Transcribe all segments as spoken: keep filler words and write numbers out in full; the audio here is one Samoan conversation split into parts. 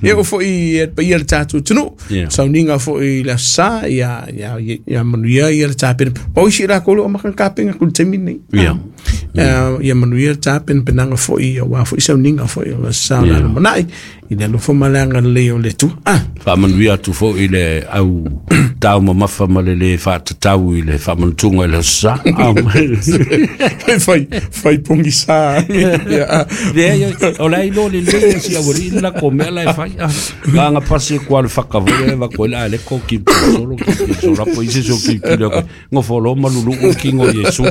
Ia o foi e paia le tatou atunuu. Ia. Sauniga foi i le Aso Sa, ia ia ia manuia ia le tapena. O isi lakou o lo o maka kapena ku le taimi lenei. Ia. Ah, ia manuia le tapenapenaga foi aua foi sauniga foi o le Aso Sa o le Ia. lumanai i le alofa ma le agalelei o le Atua. Ah, Faamanuia atu foi i le au taumamafa ma le lē faatatau i le faamanatuga i le aso sa. Ah. Fai fai pogisa. Ia. Leai, o le a iloa lelei e si aualii le lakou mea la e fai. Ah, gaga pasi e kua le fakavai e vakoe le a le ko ki solo ki solo po isi so ki ki le ngofolo malulu o kingo Yesu.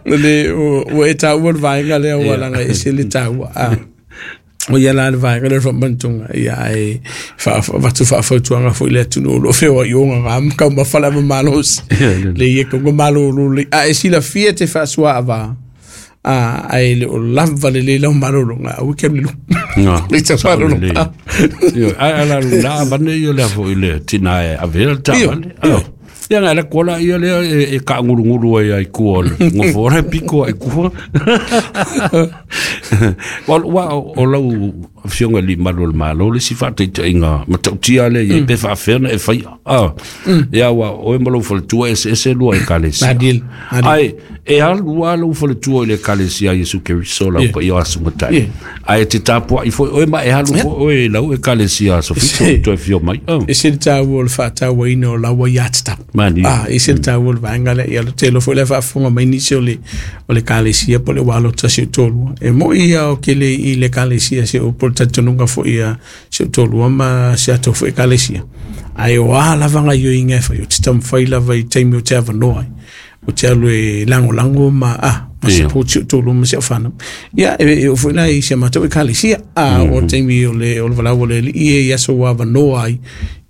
Le o ua e taua le vaega lea ua laga e ese le taua. Ah. O ia la le vaega lea o le faamanatuga ia ae faavatu faafautuaga foi i le atunuu o loo feoai oga ga taumafa le avamalosi le ia kauga malolo lelei a e silafia te faasuaavā a ae le o lava lelei lau malologa aua ke alu i luga No. le tau malologa. Io ai ala la avane io le foi le tina e avea le taavale. Io. Ia nga le kola ia le e, e kaangulungulu ai ai kua le ngofora piko ai kua. Wa wa o lau afioga i le malu o le Malo le si faataitaiga matautia le ia pe faafea ona e faia. Ah. Ia ua oe ma lou faletua e eseese lua ekalesia. Malie, malie. Ai e alu a lou faletua i le ekalesia Iesu Keriso lau Ia. paia o aso matai. Ia. Ai te tapuai foi oe ma e alu foi oe i lau ekalesia Sofito Se- toe fio mai. Oh. E se le taua o le faatauaina o lau aiatatau. Malie. Ah, e se le taua o le vaega lea ia le tele foi le faafofoga mai nisi o le o le ekalesia po o le ua alo tasi o toalua. E moi ia o kele i le ekalesia se o po o le talitonuga foi ia si o toalua ma se atou foi ekalesia. Ae o a lava gaioiga e fai o te taumafai lava i taimi o te avanoa ai. O te alu e lagolago ma ah ma Ia. support si o toalua ma si au fanau. Ia e e oo foi la i si a matou ekalesia. Ah, o taimi o le o le valaau a le Alii e i aso ua avanoa ai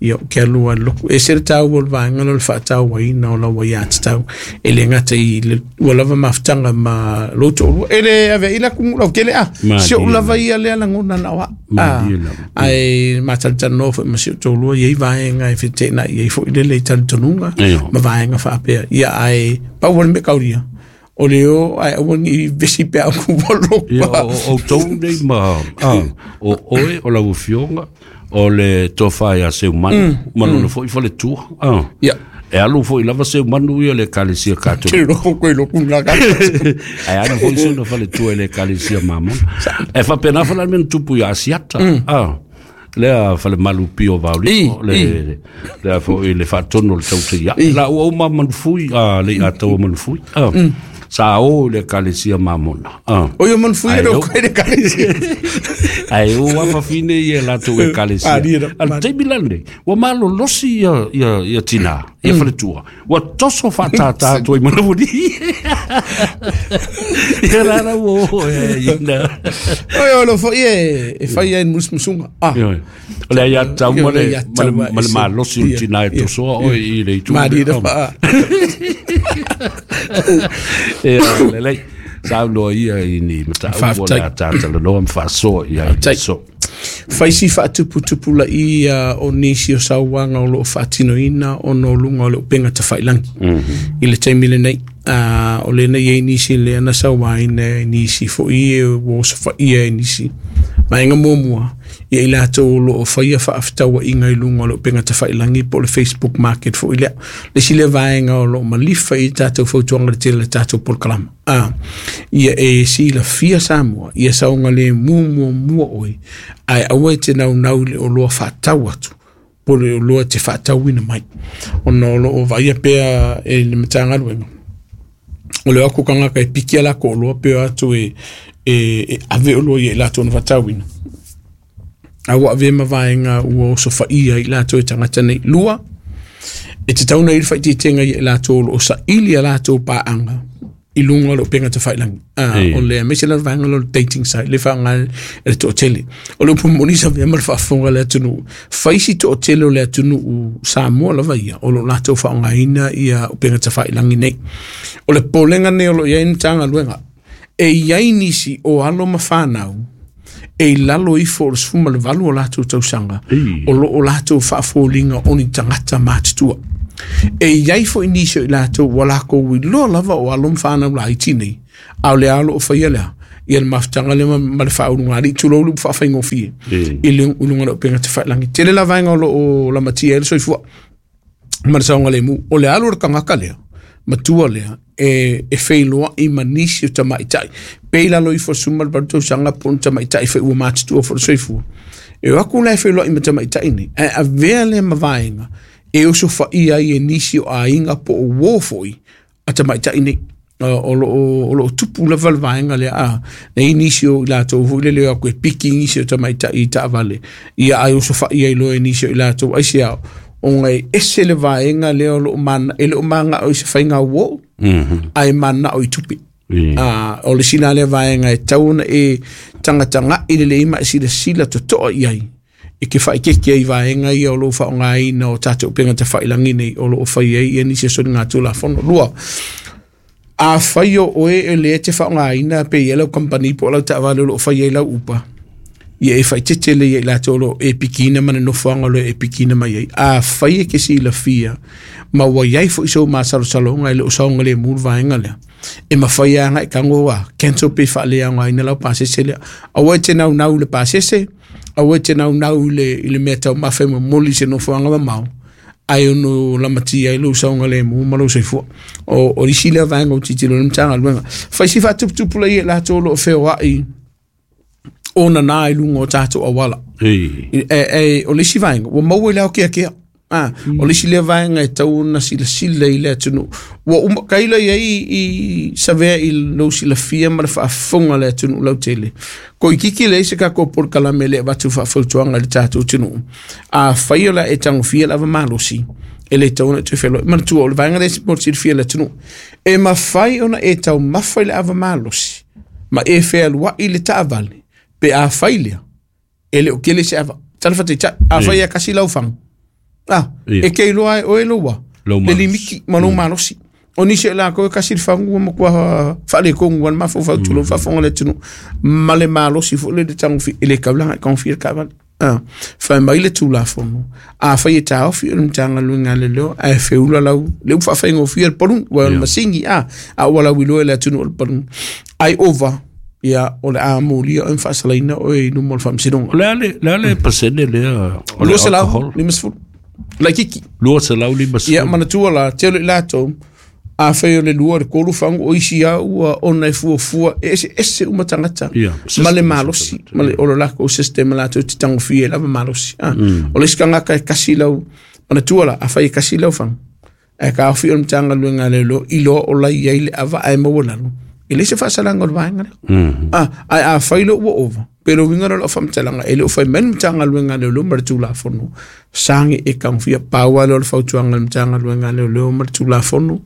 ia o ke alu ai loku. E se le taua o le vaega lea o le faatauaina o lau aiatatau e le gata i le ua lava mafutaga ma lou toalua. E le aveai la kugu lautele a. Si ou Malie. lava ia lea lagona na o au. Ah, Malie lava. ae matalatalanoa foi ma si ou toalua i ai vaega e feteenai ai foi lele i talitonuga Ia. ma vaega faapea. Ia ae pau o le mea kaulia. O le o ae aua ni vesi pe au ku Ia lopa. o o outou nei ma ah, o oe o lau afioga o le tofa ia Seumanu ma lona foi faletua. Ah. Ia. E alu foi lava Seumanu ia le ekalesia Te Katoliko. loko koe loku ngā ka. Ae alu foi sona faletua i le ekalesia Mamona. E faapena foi la le mea na tupu ia Asiata. Ah. Lea falemalu pio vauliko I, le i. lea foi le faatonu o le tautaia. I. La ua uma manufui a le ataua manufui. Ah. Sa o i le ekalesia Mamona. Ah. O ia manufui Ai, e eu- loko e le ekalesia. Ai o afafine ia latou ekalesia. Ah, lia, Al taimi lenei, ua malolosi ia ia ia tina, ia faletua. Ua toso faatātā atu ai manavuli. Ia la la ua o e ina. O ia o lo foi e e fai ai musmusunga. Ah. Ia. O le ia tau ma O le le ia ma le tau ma le e se- malosi o ia, tina e ia, tosoa oe i le itu. Malie na faa. Ia lelei. Saunoa ia i ni mataupu o Faafetai. le a tatalanoa ma faasoa i ai Faafetai. so. Faisi faatuputupula'i ia o nisi o sauaga o loo faatinoina ona o luga o le upega tafailagi i le taimi lenei. Ah, o lena i ai nisi lea na sauaina e nisi foi e ua osofaia e nisi. Vaega muamua, ia i latou o loo faia faafetauaiga i luga o le upega tafailagi po o le Facebook Market foi lea. Le isi lea vaega o loo malifa i tatou fautuaga le tele le tatou polokalama. Ah, ia e silafia Samoa, ia saogalemu muamua oe, ae aua e te naunau i le oloa faatau atu po o le oloa e te faatauina mai. Ona o loo vaaia pea e le Matagaluega. O le o aku tagata e piki a lako oloa pe o atu e, e, e ave oloa ia i latou na faatauina. A ua avea ma vaega ua osofaia i latou e tagata nei. Lua, e tatau ona i le faaitiitiga ia i latou o loo saili a latou paaga i luga o le upega tafailagi. Ah, Ia. o le aemaise la le vaega lea o le dating site le faaaoga e le toatele. O le upu moni sa avea ma le faafofoga a le atunuu. Fai si toatele o le atunuu Samoa lava ia o loo latou faaaogaina ia upega tafailagi nei. O le popolega nei o loo iai le Matagaluega. E iai nisi o alo ma fanau e i lalo ifo o le sefulu ma le valu o latou tausaga Ei. o loo latou faafoliga o ni tagata matutua. E iai foi nisi o i latou ua lakou iloa lava o alo ma fanau laiti nei, a o le a o loo faia lea Ia le mafutaga lea ma le faaulugalii tulou le upu faafaigofie i le luga o le upega tafailagi. Tele la vaega o loo lamatia ai le soifua ma le saogalemu. O le alu o le tagata lea matua lea e e feiloai ma nisi o tamaitai pe i lalo ifo suma le valu tausaga po o ni tamaitai foi ua matutua foi le soifua. E o atu la e feiloai ma tamaitai nei ae avea lea ma vaega e osofaia ai e nisi o aiga po o uō foi a tamaitai nei. O loo o loo tupu lava le vaega lea a nei nisi o i latou foi lele o atu e piki nisi o tamaitai i taavale ia ae osofaia ai loa e nisi o i latou aisea ona e ese le vaega lea o loo mana e le o magao i se faiga uō ae manao i tupe. A o le sina lea vaega e tau ona e tagatagai lelei ma e silasila totoa i ai e ke whaikeke ai vaega ia o loo faaaogaina o tatou upega tafailagi nei o loo fai ai ia nisi o soligatulafono. Lua, a fai o oe e le te faaaogaina pe ia lau company po o lau taavale o loo fai ai lau upa ia e faitete le ia i latou o loo e pikiina ma le nofoaga o loo e pikiina mai ai. A fai e ke silafia ma ua iai foi sou masalosaloga e le o saogalemu le vaega lea e mafai agai tago a cancel pe faaleaogaina lau pasese lea. Aua e te naunau i le pasese, aua e te naunau i le i le mea taumafa e momoli i se nofoaga mamao ae ono lamatia ai lou saogalemu ma lou soifua. O o isi lea vaega o tilotilo ai le Matagaluega. Fai si faatuputupula i e latou o loo feoai ona nā i luga o tatou auala. E, e, o le isi vaega ua maua i le aokeakea. Ah, o le isi lea vaega e tau ona silasila i le atunuu. Ua uma kaila iai i savea i lou silafia ma le faafofoga a le atunuu lautele. Koikiki leai se tatou polokalame e le avatu faafautuaga i le tatou atunuu. Afai o le a e tagofia le ava malosi e le tau ona e toe feloai. Manatua o le vaega lea mo le silafia e le atunuu. E mafai ona e taumafa i le ava malosi ma e fealuai i le taavale pe afai lea e le o kele se ava. Tala faataitai, afai e kasi lau fagu. Ah, e ke iloa e oe loua le limiki ma lou malosi. O nisi o lakou e kasi le fagu ua matua faaletonu ai le mafaufau tulou faafofoga le atunuu ma le malosi foi le tagofi e le taulaga e tagofia le taavale. Ah, fai mai le tulafono afai e taofi o le Matagaluega a Leoleo ae feula lau le upu faafaigofie le paluni ua o le masini a a ua lauiloa i le atunuu o le paluni ai ova ia o le a molia oe ma faasalaina oe i luma o le faamasinoga. O le a le, le a le pasene lea o le Lua selau alcohol? limasefulu laitiiti. Lua selau limasefulu. Ia manatua la tele i latou afai o le lua o le tolu fagu o isi lava ua ona e fuafua e eseese uma tagata Ia, ma le system malosi ma le o le lakou system latou te tagofia ai lava malosi. Ah, o le isi tagata e kasi lau manatua la afai e kasi lau fagu ae taofi o le Matagaluega a Leoleo iloa o lai ai le ava ae maua lalo e leai se faasalaga o le vaega lea. Ah, ae afai loa ua ova pe le uiga lea o lau faamatalaga e le o fai mai le Matagaluega a Leoleo ma le Tulafono sagi e tagofia. Pau lava lea o le fautuaga a le Matagaluega a Leoleo ma le Tulafono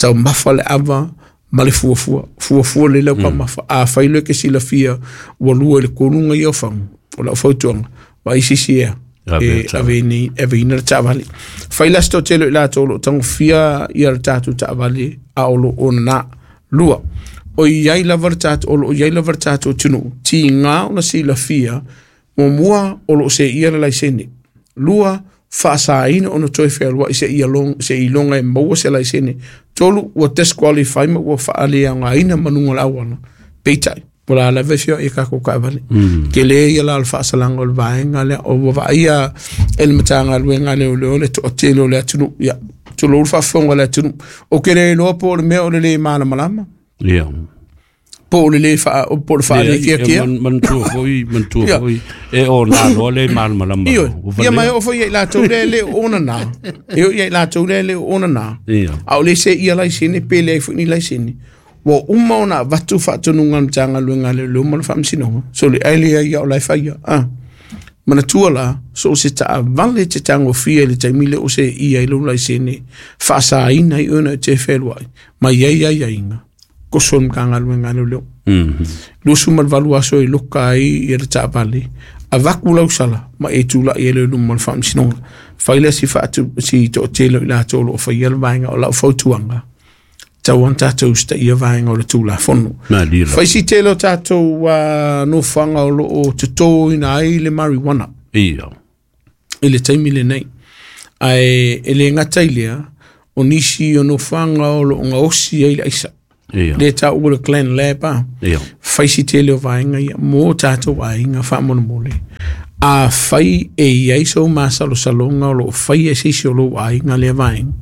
taumafa le ava ma le fuafua fuafua lelei lau taumafa. Afai loa e ke silafia ua lua i le tolu ga ia o fagu o lau fautuaga vaai se isi ea Ave e le taavale. ave nei aveina le taavale. Fai la se toatele o i latou o loo tagofia ia le tatou taavale a o loo ona lua. O iai lava le tatou o loo iai lava le tatou atunuu tiga ona silafia muamua o loo seia le laisene. Lua, faasaina ona toe fealuai seia long seiloga e maua se laisene. Tolu, ua disqualify ma ua faaleaogaina ma luga o le auala. Peitai, o le a lava e feoai e tatou taavale. Tele ia la o le faasalaga o le vaega lea o ua vaaia e le Matagaluega a Leoleo le toatele o le atunuu. Ia, tulou le faafofoga a le atunuu. Ou te le iloa po o le mea o le lē malamalama Ia. po o le lē faa po o le Leai, e faalekeakea. man, manatua foi, manatua Ia. foi, e o nā loa le malamalama Ioe, loa. Ua ia ma e valea. oo foi ia i latou lea e le o ona nā. E oo ia i latou lea e le o ona nā. Ia. A o le seia laisene pe leai foi ni laisene. Ua uma ona avatu faatonuga a le Matagaluega a Leoleo ma le Faamasinoga. So le ai lea ia o la e faia. Ah. Manatua la, so o se taavale te tagofia i le taimi lea o seia i lou laisene faasaina ai oe na e te fealuai ma iai aiaiga koso le Matagaluega a Leoleo. Luasu ma le valu aso e loka ai ia le taavale avatu lau sala ma e tulai ai lea i luma o le Faamasinoga. Fai lea si faatu si toatele o i latou o loo faia le vaega o lau fautuaga tau ona tatou usitaia vaega o le Tulafono. Malie lava. Fai si tele o tatou uh, nofoaga o loo totoina ai le marijuana Ia. i le taimi lenei. Ae e le gata i lea o nisi o nofoaga o loo gaosi ai le aisa. Le tāu o le clan lab a. Fai si tele o vaenga ia, mō tātou aiga faamolemole. A fai e iai sou masalosaloga o loo fai e seisi o lou aiga lea vaega.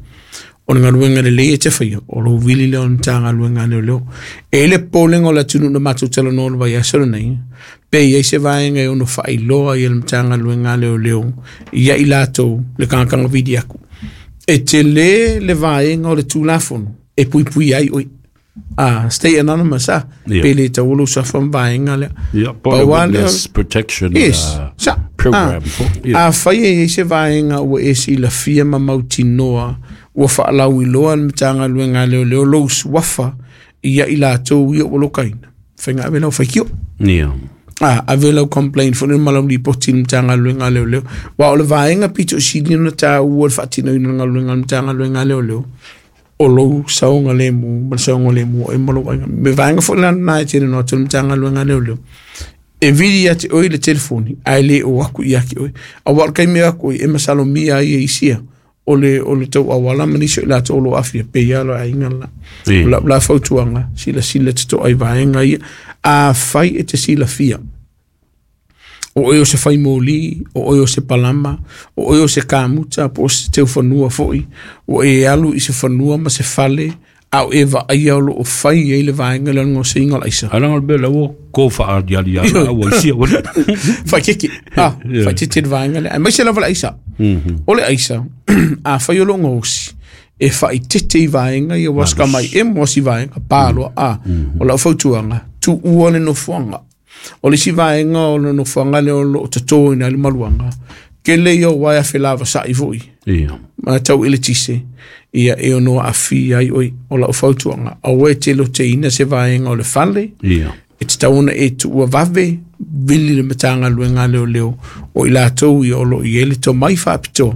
O le galuega lelei e te faia, o lou vili lea o le Matagaluega a Leoleo. E i le popolega o le atunuu na matou talanoa le vaiaso lenei, pe iai se vaega e ono faailoa ia le Matagaluega a Leoleo ia i latou le tagataga vili aku. E tele le vaega o le Tulafono e puipui ai oe. Ah, stay anonymous ah. Yeah. Pe le tauolo sa fa vaega lea. Yeah, Pau po lava lea- witness protection Yes. uh, Sa. program. Ah. A fai e i se vaega ua e silafia ma mautinoa ua faalauiloa le Matagaluega a Leoleo lou suafa ia i latou ia ua lokaina. Faiga ave lau faitio. Yeah. Ah, ave lau complaint foi le ma lau lipoti i le Matagaluega a Leoleo. Wa o le vaega pito sili ona tāua le faatinoina o le galuega a le Matagaluega a Leoleo. O lou saoga lemu ma le saoga lemu o e ma lou aiga. Me vaega foi la na e tele no atu le Matagaluega a Leoleo. E vili ia te oe le telefoni, ae le o aku ia ki oe. A wa o le kaimi aku e masalomia ai e isia. O le, o le tau awala ma nisi o i latou o lo afia, pe ia lo aiga la. Ia. O la, la fautuaga, sila sila te to'a i vaega ia. A fai e te silafia. O oe o se faimoli, o oe o se palama, o oe o se kamuta, po o se teufanua foi, o e alu i se fanua ma se fale, a o e vaaia o loo fai ai le vaega lea o le gosiga o le aisa. Ala ngol bela wo ko fa ali ali ala wo sia wo. Faitete, ah, Yeah. faitete le vaega lea. Aemaise lava le aisa. O le aisa, a fai o loo gosi, e faitete i vaega ia ua sika mai e mo si vaega, pāloa, a, o lau fautuaga, tuua le nofoaga. O le isi vaega o le nofoaga lea o loo totōina ai le maluaga, kele ia o uaea felavasa'i fo'i, Ia. ma tau i le tise, ia e ono aafia ai oe. O lau fautuaga, aua e te loteina se vaega o le fale, Ia. e tatau ona e tuua vave, vili le Matagaluega a Leoleo, o i latou ia o loo i ai le tomai faapitoa,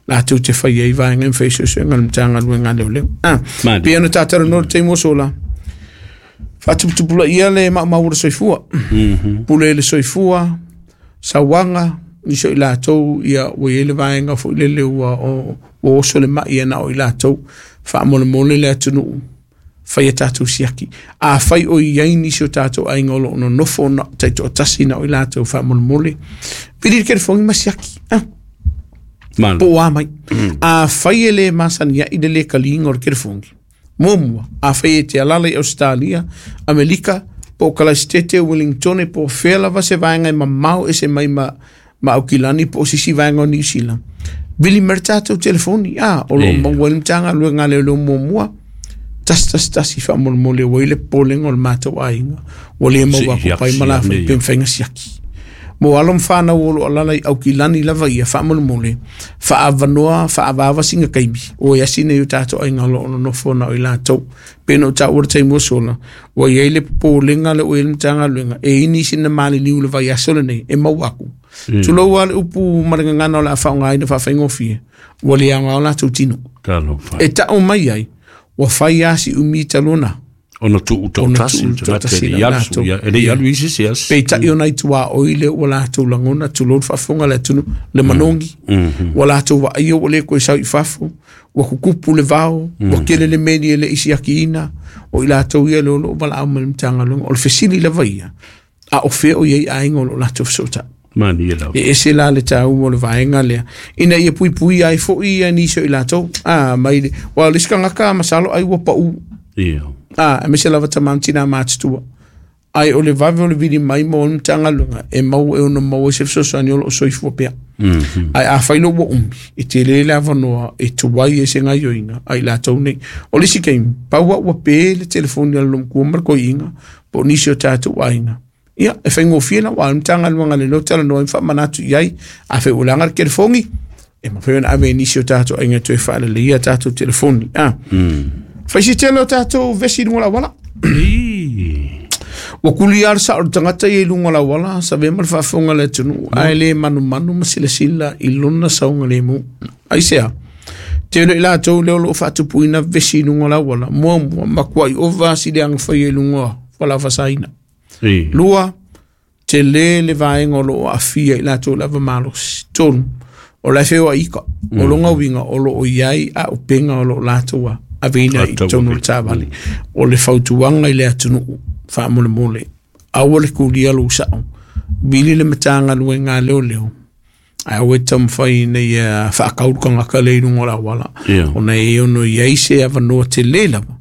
latou te fai ai vaega ma fai suesuega o le Matagaluega a Leoleo. Ah, Mali. pei ona tatalanoa le taimi ua sola, faatuputupulaia le maumau o le soifua. Pule i le soifua, sauaga, nisi o i latou ia ua iai le vaega foi lele ua o ua oso le mai e na o i latou, faamolemole le atunuu, fai a tatou siaki. A fai o i ai nisi o tatou aiga o loo nonofo na taitoatasi na o i latou faamolemole, vili le telefoni ma siaki. Ah, Malo. po o a mai. A fai e le masani ai le le kaliga o le telefoni. Muamua, a fai e te alala i Australia, Amerika, po o Kalaisitete, Wellingtone, po o fea lava se vaega e mamao e se mai ma, ma Aukilani, po o sisi vaega o Niu Sila. Vili mai le tatou telefoni, ah, o loo Ia. maua ai le Matagaluega a Leoleo muamua, tasi tasi tasi faamolemole ua i le popolega o le matou aiga, ua le maua Si- aku pai ma la siaki, fai ia. pe mafai siaki. Mo alo ma whanau o loo alala i Aukilani lava ia faamolemole, faavanoa, faavaava singa kaimi, o e asina i o tātou aiga o loo nonofo na o i latou. Pena o tāua le taimi ua sola, ua iai le popolega le o i le Matagaluega, e ini sina maliliu le vaiaso lenei, e mau aku. Tulou a le upu ma le gagana o le a faaaogaina faafaigofie, ua le aoga o latou tino. Talo fa. E tau mai ai, ua fai a si umi talona, Ona tu u Ona tasi tuu te toatasi le la ialu latou. ia. E le ialu isi se as. peitai ona i tuaoi lea ua latou lagona tulou le faafofoga le atunuu le manogi ua latou vaaia ua lē koe sau i fafo ua kukupu le vao ua kele le meli e le'i siakiina o i latou ia le o loo valaau mai le Matagaluega o le fesili lava ia a o fea o iai aiga o loo latou fesoota'i Mani e lau. e ese la le tāua o le vaega lea ina ia puipui ai fo'i ia nisi o i latou a mai le ua o le isi tagata masalo ai ua pa'u Ia. a aemaise lava tamā ma tinā matutua ai o le vave o le vili mai ma o le Matagaluega e mau e ono maua ai se fesoasoani o loo soifua pea ai a fai lou ua umi e tele le avanoa e tuai ai se gaioiga ai latou nei o le isi kaimi pau a'u ua pē le telefoni a le lomatua ma le koiiga po o nisi o tatou aiga ia e faigofie la ua o le Matagaluega lelei talanoa ai ma faamanatu i ai a fai ua laga le telefoni e mafai ona ave i nisi o tatou aiga e toe faaleleia tatou telefoni a fai se tele o tatou vesi i luga o le auala I. Ua kuli a le sao o le tagata ia i luga o le auala sa vea ma le faafofoga le atunuu ae lē manumanu ma silasila i lona sauga lemu aisea tele i latou lea o loo faatupuina vesi i luga o le auala muamua makua'i ova si le agafaia i luga o fualaau I. Lua, tele le vaega o loo aafia i latou lava malosi. Tolu, o le feoai ika, o longa uiga o loo i ai aupega o loo latou Aveina i tonu le taavale. O le fautuaga i le atunuu faamolemole, aua le kulia lou sa'o, vili le Matagaluega a Leoleo, ae aua e taumafai ina ia faakaulu tagata lea i luga o le auala, ona e ono i ai se avanoa tele lava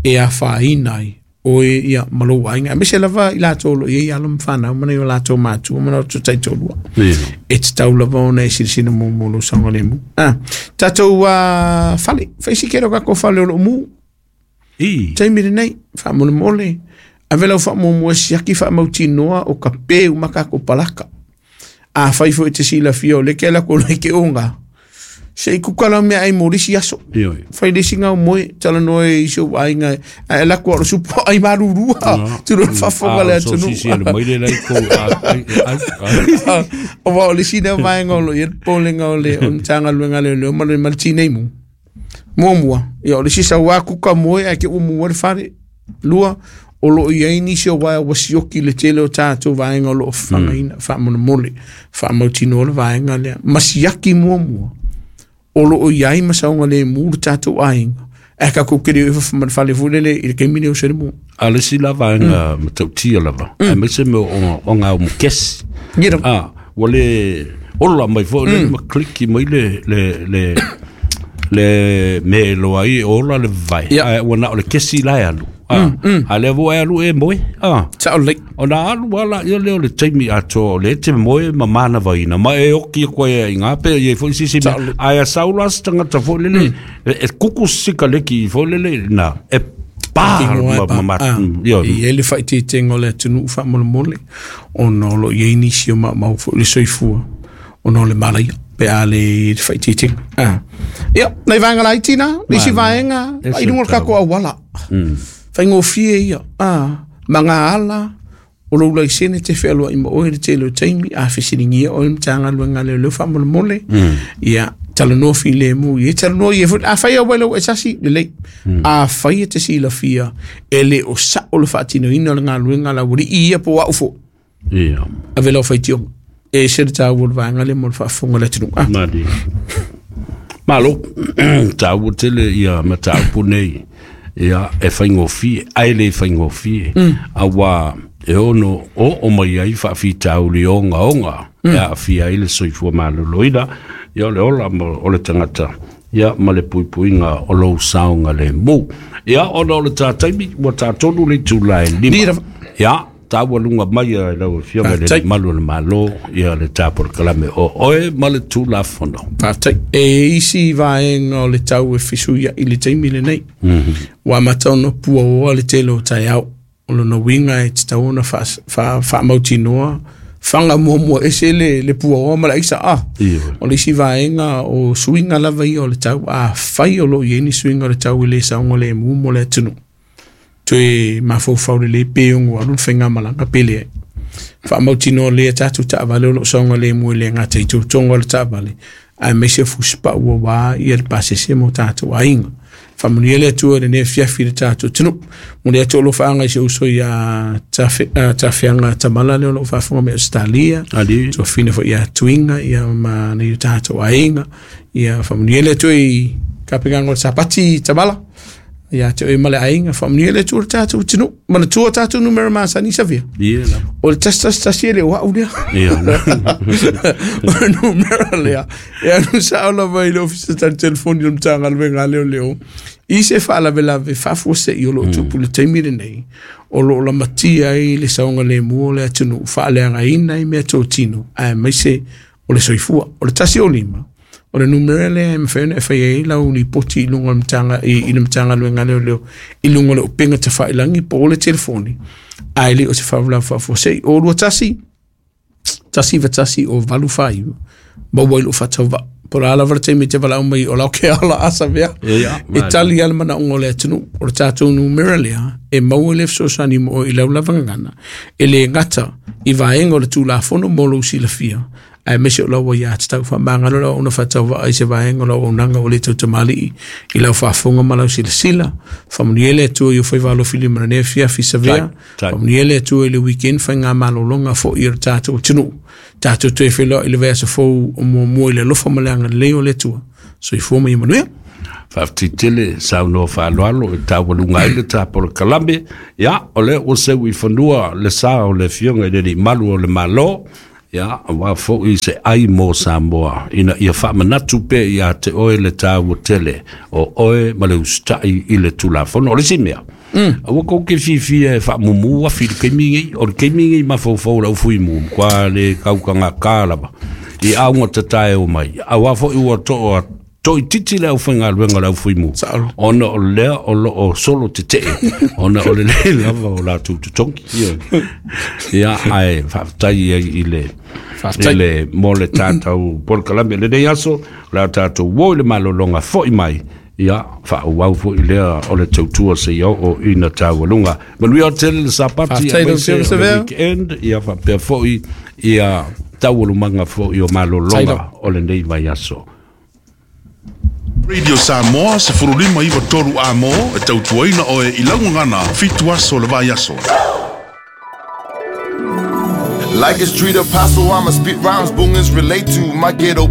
e afaina ai oe ia ma lou aiga, aemaise lava i latou o lo o i ai alo ma fanau ma nai o latou matua ma latou taitolua. E tatau lava ona e silasila muamua lou saogalemu. Ah, tatou uh, fale, faisikele o kako fale o loo mu. I. Taimi lenei, faamolemole, ave lau faamuamua e siaki faamautinoa o ka pe uma kako palaka. A fai foi te silafia o le ke la ko le ke onga. Se i kuka lau mea ai mo lisi aso. Fai lisi ngau moe, talanoa e isi o aiga, a e lako aro supo ai marurua. Turo fafoga le atunu. So sisi ale mai le lai ko ai ai. O wa o lisi nea vaenga o lo i polenga o le o mtanga luenga le leo ma le maltinei mu. Muamua, ia o lisi sa wā kuka moe ai ke umu wale whare. Lua, o lo i ai nisi o waia wasioki le tele o tātou vaenga o lo o whangaina, whaamolemole, whaamautinoa le vaenga lea. Masiaki muamua, o lo o iai masaunga le mu le tātou aiga. E ka kukere o whawhamana whale fulele i le keimine o se mu. A le si lava nga matautia lava. A me se me o ngā o mukesi. Ah, wale ola mai fo le ma kliki mai le le le le me loa i ola le vai. A wana o le kesi la alu. Ah, a le vo alu e moe. Ah, sao le. O na alu ala ia le o le taimi ato le te moe ma mana vaina ma e oki koe i ngā pe i fo sisi me a saula tangata fo lele e kuku sika leki fo lele na e pa ma ma io i ele fa te tengo le tunu fa molemole ona lo i nisi o ma ma fo le soifua ona le malaia pe a le fa te tengo ah ia nei vaenga la itina nisi vaenga i lunga ka ko awala whaingofie ia ah manga ala o lou laisene te whealua i ma oe le tele o taimi a whesiringia oe mtanga luenga le leo whamolemole ia talanoa fi le mu ia talanoa ia a whai au wailau e sasi le lei a whai e te silafia e le o sa o le whaatinoina o le ngā luenga la wuri ia po au fo ia a vela o whaitionga e se le tāu o le vaenga le mo le whaafonga le tunu ah Mali Malo tāu tele ia matau punei ia e whaingofie ai le whaingofie awa e ono o o mai ai whaafitau li onga onga e a fia i le soifua maloloina ia le ola o le tangata ia ma le puipuiga o lou saoga le mu ia ona o le tataimi ua tatonu le itula e lima ia taua luga mai e lau afioga i le malu o le Malo ia le tapolokalame o oe ma le Tulafono. Faafetai. E isi vaega o le tau e fesuia i le taimi lenei ua amata ona puaoa le tele o taeao o lona uiga e tatau ona faamautinoa fanga muamua ese le, le puaoa ma le aisa a o le isi vaega o suiga lava ia o le tau a fai o loo i ai ni suiga o le tau i le saoga le emu mo le atunuu toe mafaufau lelei pe ogo alu le faigamalaga pele ai faamautinoa lea tatou taavale o loo saoga lemu e le gata i toutoga o le taavale ae maise fusipau ua wā ia le pasese mo tatou aiga faamanuia le Atua lenei afiafi le tatou atunuu mo le atu o loo faaga i se uso ia tafeaga tamala lea o loo faafofoga mai Australia tuafina foi ia tuiga ia ma nei o tatou aiga ia faamanuia le Atua i kapegaga o le sapati tamala ia te oe ma le aiga faamanuia le Atua le tatou atunuu manatua tatou numera masani savia o le tasi tasi tasi e le o au lea o le numera lea e anu sao lava i le ofisa tali telefoni o le Matagaluega a Leoleo i se faalavelave faafuasei o loo tupu le taimi lenei o loo lamatia ai le saoga lemu o le atunuu faaleagaina i mea totino ae maise o le soifua o le tasi o lima o le numera lea e mafai ona e fai ai lau lipoti i luga o le Matagaluega i le Matagaluega a Leoleo i luga o le upega tafailagi po o le telefoni ae le o se faalavelave faafuasei o lua tasi tasi iva tasi o valu faaiva maua i loo faatauvaa po la lava le taimi te valaau mai o lau ke ala asa vea e tali ale manaoga o le atunuu o le tatou numera lea e maua le fesoasoani mo oe i lau lava gagana e le gata i vaega o le Tulafono mo lou silafia ae maise o lau ia tatau faamagalo lau ona faatauvaa i se vaega o lau auaunaga o le tautamalii i lau faafofoga ma lau silasila faamanuia le Atua i o faiva alofilima lenei afiafi savea faamanuia le Atua i le weekend faigamalologa fo'i o le tatou atunuu tatou toe feiloai i le vaiaso fou o muamua i le alofa ma le agalelei o le Atua soifua ma ia manuia. Faafetitele saunoa faaaloalo e taualuga ai le tapolokalame. Ia o lea ua seu i fanua le sa o le afioga i le alii malu o le Malo, ia auā foʻi se ai mo Samoa ina ia faamanatu pea ia te oe le taua tele o oe ma le usitaʻi i le Tulafono. O le isi mea, aua kou ke fiafia e faamumū afi i le taimi nei, o le taimi nei mafaufau o le aufuimū matua le kaukagakā lava i auga tatae o mai, auā foʻi ua toʻa toʻititi le aufaigaluega o le aufuimu ona o lea o loo solo tetee ona o le lē lava o latou totogi. Ia ae faafetai ai i le i le mo le tatou polokalame lenei aso o le a tatou o i le malologa foʻi mai, ia faaauau foʻi lea o le tautua seia oo ina taualuga. Manuia tele le Sapati aemaise o le weekend, ia faapea foʻi ia taualumaga foʻi o malologa o lenei vaiaso. Radio Samoa sefululima iva tolu Amo e tautuaina oe i laugagana fitu aso le vaiaso. Like a street apostle, I'ma spit rhymes boomers relate to my ghetto.